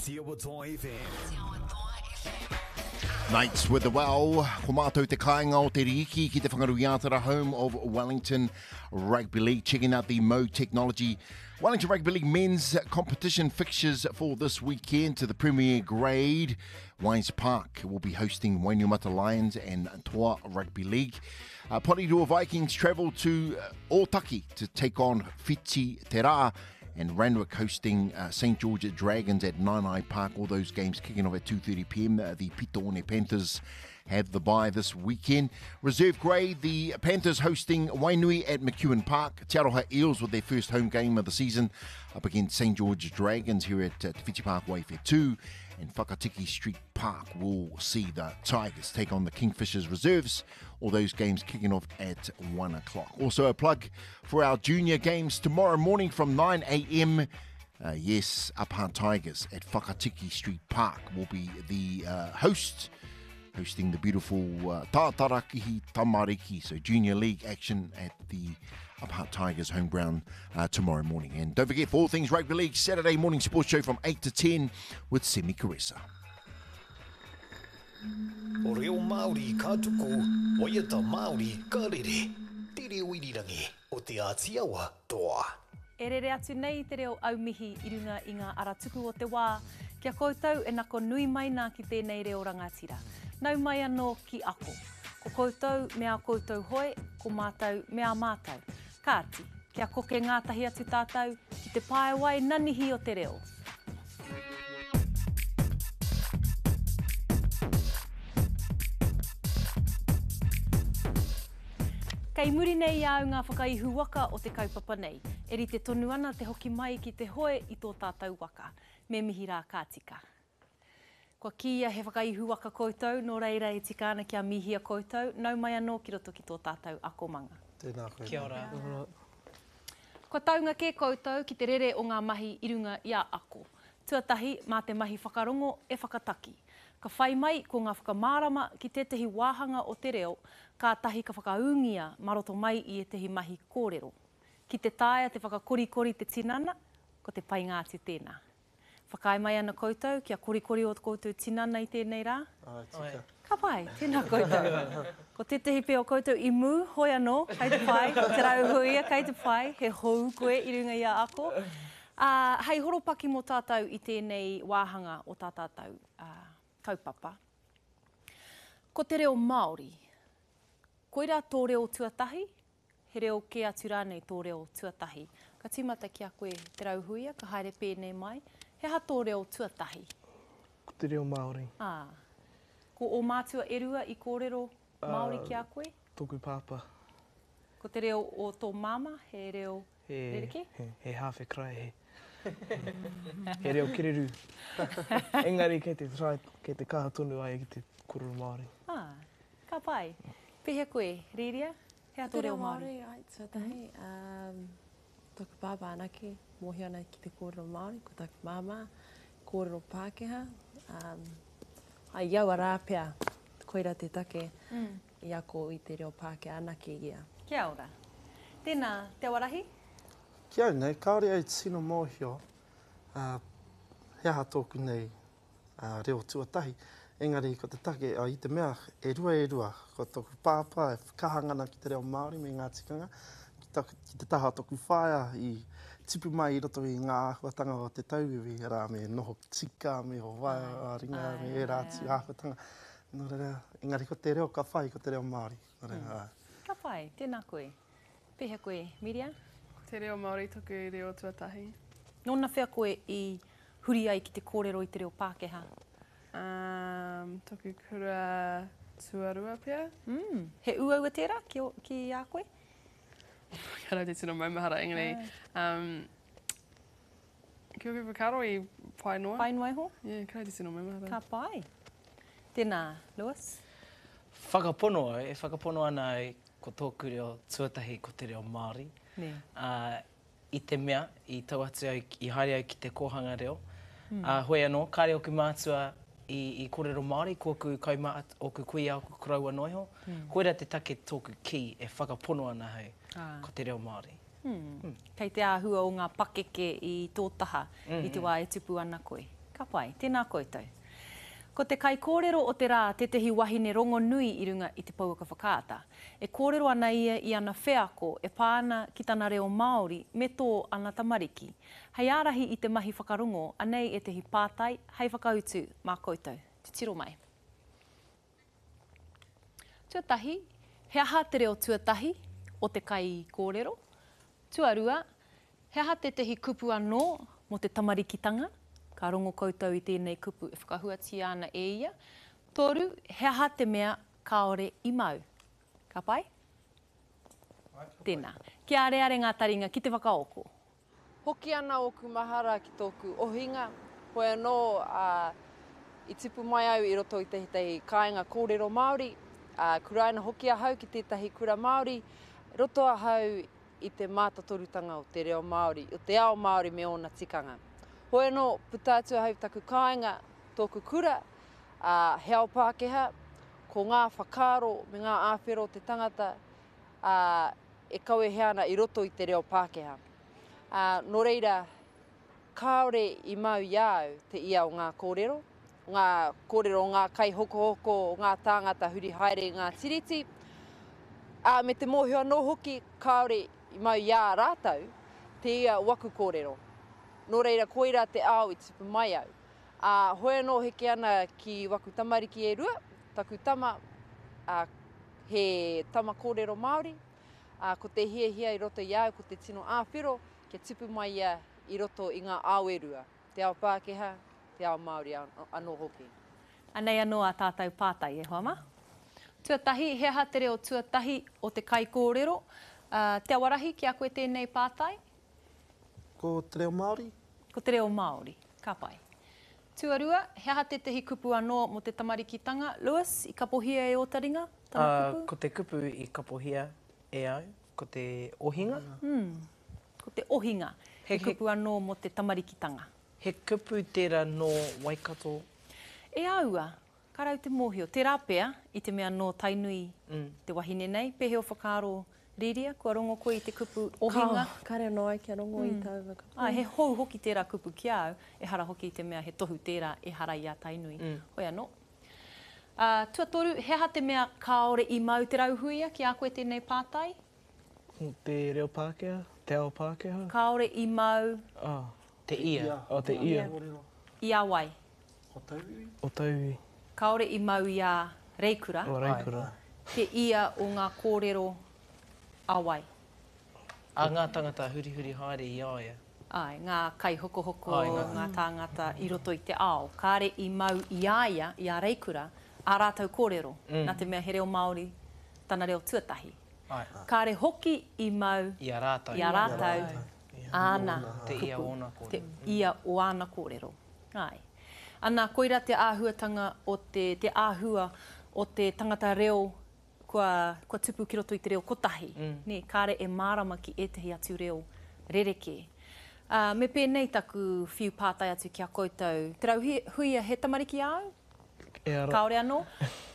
Ātiawa Toa FM. Nights with the Well, ko mātou te kāinga o te rīki ki te Whanganui-ā-Tara home of Wellington Rugby League. Checking out the Mo Technology Wellington Rugby League men's competition fixtures for this weekend to the Premier Grade. Wines Park will be hosting Wainuiomata Lions and Toa Rugby League. Uh, Porirua Vikings travel to uh, Otaki to take on Whiti Te Rā and Randwick hosting uh, St George Dragons at Naenae Park. All those games kicking off at 2.30pm. Uh, the Pitoone Panthers have the bye this weekend. Reserve grade, the Panthers hosting Wainui at McEwen Park. Te Aroha Eels with their first home game of the season up against St George Dragons here at uh, Te Whiti Park Waiwhetu. And Whakatiki Street Park will see the Tigers take on the Kingfishers Reserves. All those games kicking off at 1 o'clock. Also a plug for our junior games tomorrow morning from 9 a.m. Uh, yes, Upper Tigers at Whakatiki Street Park will be the uh, host, hosting the beautiful uh, Tātarakihi Tamariki, so junior league action at the Upper Tigers home ground uh, tomorrow morning. And don't forget, for all things rugby league, Saturday morning sports show from 8 to 10 with Semi Caressa. O reo Māori ka tuku, waiata Māori ka rere. Te reo irirangi o Te Āti Awa toa. E rere atu nei te reo aumihi i runga i ngā ara tuku o te wā, ki a koutou e nako nui mai nā ki tēnei reo rangatira. Nau mai anō ki ako. Ko koutou me ā koutou hoe, ko mātou me ā mātou. Kāti, kia koke ngātahi atu tātou ki te paewai nanihi o te reo. Kei muri nei i a au ngā whakaihu waka o te kaupapa nei. E rite tonu ana te hoki mai ki te hoe i tō tātou waka. Me mihi rā ka tika. Kua kīia he whakaihu waka koutou, nō reira e tika ana kia mihia koutou, nau mai anō ki roto ki tō tātou akomanga. Tēnā koe. Kia ora. Kua taunga kē koutou ki te rere o ngā mahi i runga i a ako. Tuatahi, mā te mahi whakarongo e whakataki. Ka whai mai ko ngā whakamārama ki tētahi wāhanga o te reo, kātahi ka whakaūngia mā roto mai i ētahi mahi kōrero. Ki te taea te whakakorikori te tinana, ko te painga atu tēnā. Whakaae mai ana koutou kia korikori ō koutou tinana i tēnei rā? Āe, tika. Ka pai, tēnā koutou. Ko tētahi pea o koutou i mū, hoi anō, kei te pai, Te Rauhuia, kei te pai, he hou koe i runga i a ako. Ā, hei horopaki mō tātou i tēnei wāhanga o tā tātou kaupapa. Ko te reo Māori, koirā tō reo tuatahi, he reo kē atu rānei tō reo tuatahi? Ka tīmata ki a koe Te Rauhuia, ka haere pēnei mai, he aha tō reo tuatahi? Ko te reo Māori. Ā. Ko ō mātua e rua i kōrero Māori ki a koe? Tōku pāpā. Ko te reo o tō māmā, he reo rerekē? He, he hāwhe karaehe. He reo kererū. Engari kei te try, kei te kaha tonu a ia ki te kōrero Māori. Ā, ka pai. Pēhea koe, Rīria? He aha tō reo Māori? Te reo Māori, ai, tuatahi, um, tōku pāpā anake, mōhio ana ki te kōrero Māori, ko taku māmā, kōrero Pākehā. Um, ai, i aua rā pea, koira te take mm. i ako i te reo Pākehā anake ia. Kia ora. Tēnā, Te Awarahi? Ki au nei, kāore au tino mōhio uh, he aha tōku nei reo tuatahi, engari ko te take, i te mea e rua e rua, ko toku pāpā e kaha ngana ki te reo Māori me ngā tikanga, ki, taku, ki te taha o toku whaea i tipu mai i roto i ngā āhuatanga o te tauiwi, arā, me noho tika, me ho waea ringa, me ērā atu āhuatanga. Nō reira, engari ko te reo ka whai, ko te reo Māori. Nō reira, āe. Ka pai, tēnā koe. Pēhea koe, Miria? Ko te reo Māori toku reo tuatahi. Nōnawhea koe i huri ai ki te kōrero i te reo Pākehā? Um, toku kura tuarua pea. Mm. He uaua tērā ki, o, ki a koe? Kāre te tino maumahara, engari, um, ki oku whakaaro i pai noa. Pai noa iho? Yeah, kāre te tino maumahara. Ka pai. Tēnā, Lewis? Whakapono au, e whakapono ana au ko tōku reo tuatahi ko te reo Māori. Nē. Ā, i te mea, i tau atu au, i haere au ki te kōhanga reo, ā, hoi anō, kāre ōku mātua i, i kōrero Māori, ko ōku kaumā, ōku kuia, ōku koroua noa iho. Koirā te take tōku kī e whakapono ana ahau ko te reo Māori. Kei te āhua o ngā pakeke i tō taha i te wā e tupu ana koe. Ka pai. Tēnā koutou. Ko te kaikōrero o te rā tētehi wahine rongonui i runga i te pouaka whakaata. E kōrero ana ia i ana wheako e pā ana ki tana reo Māori me tō ana tamariki. Hei ārahi i te mahi whakarongo, anei ētehi pātai hei whakautu mā koutou. Titiro mai. Tuatahi, he aha te reo tuatahi o te kaikōrero? Tuarua, he aha tētehi kupu anō mō te tamarikitanga? Ka rongo koutou i tēnei kupu e whakahuatia ana e ia. Toru, he aha te mea kāore i mau? Ka pai? Tēnā. Kia areare ngā taringa ki te whakaoko. Hoki ana ōku mahara ki tōku ohinga, hoi anō, ā, i tipu mai au i roto i tētahi kāinga kōrero Māori, ā, kuraina hoki ahau ki tētahi kura Māori, roto ahau i te mātotorutanga o te reo Māori, o te ao Māori me ōna tikanga. Hoi anō, puta atu ahau i taku kāinga, tōku kura, ā, he ao Pākehā, ko ngā whakaaro me ngā āwhero o te tangata, ā, e kawehea ana i roto i te reo Pākehā. Ā, nō reira, kāore i mau i a au te ia o ngā kōrero, ngā kōrero o ngā kaihokohoko, o ngā tāngata huri haere i ngā tiriti, ā, me te mōhio anō hoki kāore i mau i a rātou te ia o aku kōrero. Nō reira, koirā te ao i tupu mai au. Ā, hoi anō heke ana ki waku tamariki e rua, taku tama, ā, he tama kōrero Māori, ā, ko te hiahia i roto i a au ko te tino āwhero kia tipu mai ia i roto i ngā ao e rua, te ao Pākehā, te ao Māori anō hoki. Anei anō ā tātou pātai, e hoa mā. Tuatahi, he aha te reo tuatahi o te kaikōrero? Ā, Te Awarahi, ki a koe tēnei pātai? Ko te reo Māori. Ko te reo Māori. Ka pai. Tuarua, he aha tētahi kupu anō mō te tamarikitanga, Lewis, i kapohia e ō taringa, tana kupu? Ko te kupu i kapohia e au, ko te ohinga. Ko te ohinga, he kupu anō mō te tamarikitanga. He kupu tērā nō Waikato? E aua, ka rau te mōhio. Tērā pea, i te mea nō Tainui te wahine nei, pēhea ō whakaaro Rīria, kua rongo koe i te kupu ohinga? Kao, kare anō ai kia rongo i taua kupu. Āe, he hou hoki tērā kupu ki a au, ehara hoki i te mea he tohu tērā ehara i a Tainui. Hoi anō. Ā, tuatoru, he aha te mea kāore i mau te rauhuia ki a koe tēnei pātai? Te reo Pākehā, te ao Pākehā. Kāore i mau. Oh. Te ia. Oh, te ia. I a wai? O tauiwi. O tauiwi. Kāore i mau i a Reikura. O Reikura. Te ia o ngā kōrero a wai? A ngā tangata hurihuri haere i a ia. Āe, ngā kaihokohoko, ngā tāngata i roto i te ao. Kāre i mau i a ia, i a Reikura, ā rātou kōrero, nā te mea he reo Māori tana reo tuatahi. Kāre hoki i mau i a rātou, i a rātou āna kupu, te ia o āna kōrero. Āe. Ana, koirā te āhuatanga o te, te āhua o te tangata reo kua, kua tupu ki roto i te reo kotahi, nē, kāre e mārama ki ētahi atu reo rerekē. Ā, me pēnei taku whiu pātai atu ki a koutou, Te Rauhuia, he tamariki āu? E ara. Kāore anō?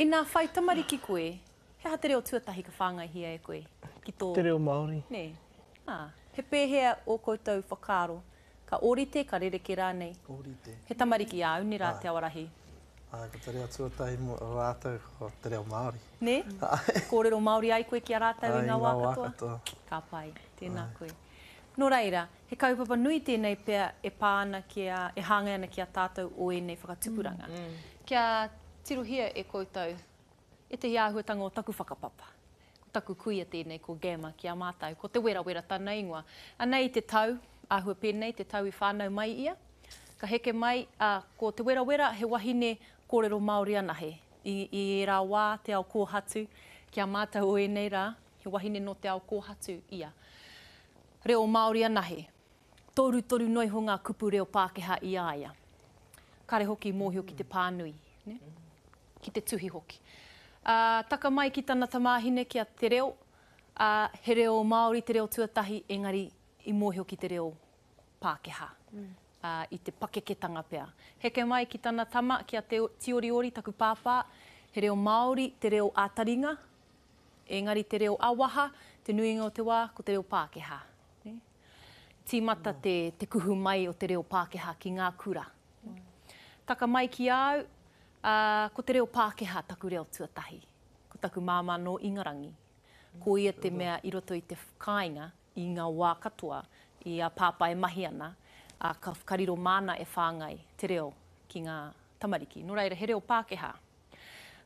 Inā whai tamariki koe, he aha te reo tuatahi ka whāngaihia e koe ki tō. Te reo Māori. Nē. Ā, he pēhea ō koutou whakaaro Ka ōrite, ka rerekē rānei. Ōrite. He tamariki āu, nē rā, Te Awarahi? Āe, ko te reo tuatahi mō rātou ko te reo Māori. Nē? Āe. Kōrero Māori ai koe ki a rātou i ngā wā katoa? Āe, i ngā wā katoa. Ka pai, tēnā koe. Nō reira, he kaupapa nui tēnei pea e pā ana ki a, e hāngai ana ki a tātou o ēnei whakatupuranga. Kia tirohia e koutou ētahi āhuatanga o taku whakapapa. Ko taku kuia tēnei, ko Gamma ki a mātou. Ko Te Werawera tana ingoa. Anei te tau, āhua pēnei te tau i whānau mai ia. Ka heke mai, ā, ko Te Werawera he wahine kōrero Māori anahe. I, i ērā wā, te ao kōhatu, ki a mātou o ēnei rā, he wahine nō te ao kōhatu ia. Reo Māori anahe. Torutoru noa iho ngā kupu reo Pākehā i a ia. Kare hoki i mōhio ki te pānui, nē? Ki te tuhi hoki. Ā, taka mai ki tana tamāhine ki a Te Reo, ā, he reo Māori te reo tuatahi, engari i mōhio ki te reo Pākehā, ā, i te pakeketanga pea. Heke mai ki tana tama, ki a Te Tioriori, taku pāpā, he reo Māori te reo ā-taringa, engari te reo ā-waha, te nuinga o te wā, ko te reo Pākehā. Nē? Tīmata te, te kuhu mai o te reo Pākehā ki ngā kura. Taka mai ki a au, ā, ko te reo Pākehā taku reo tuatahi. Ko taku māmā nō Ingarangi. Ko ia te mea i roto i te kāinga i ngā wā katoa i a Pāpā e mahi ana, ā, ka, ka riro māna e whāngai te reo ki ngā tamariki. Nō reira, he reo Pākehā.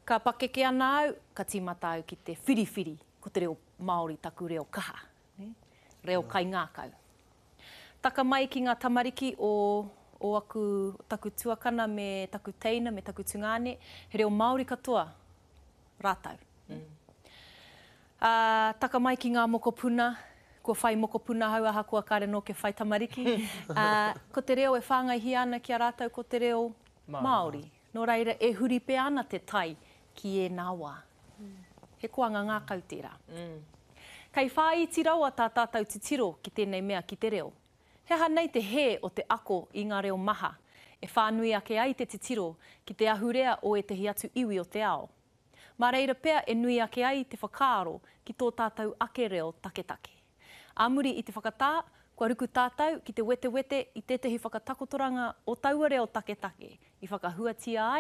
Ka pakeke ana au, ka tīmata au ki te whiriwhiri ko te reo Māori taku reo kaha, nē, reo kaingākau. Taka mai ki ngā tamariki o, o aku, taku tuakana me taku teina me taku tungāne, he reo Māori katoa rātou. Ā, taka mai ki ngā mokopuna, kua whai mokopuna ahau ahakoa kāre nō kia whai tamariki, ā, ko te reo e whāngaihia ana ki a rātou ko te reo Māori. Nō reira, e huri pea ana te tai ki ēnā wā. He koanga ngākau tērā. Kei whāiti rawa tā tātou titiro ki tēnei mea ki te reo. He aha nei te hē o te ako i ngā reo maha, e whānui ake ai te titiro ki te ahurea o ētahi atu iwi o te ao? Mā reira pea e nui ake ai te whakaaro ki tō tātou ake reo taketake. Ā muri i te whakatā, kua ruku tātou ki te wetewete i tētahi whakatakotoranga o taua reo taketake i whakahuatia ai.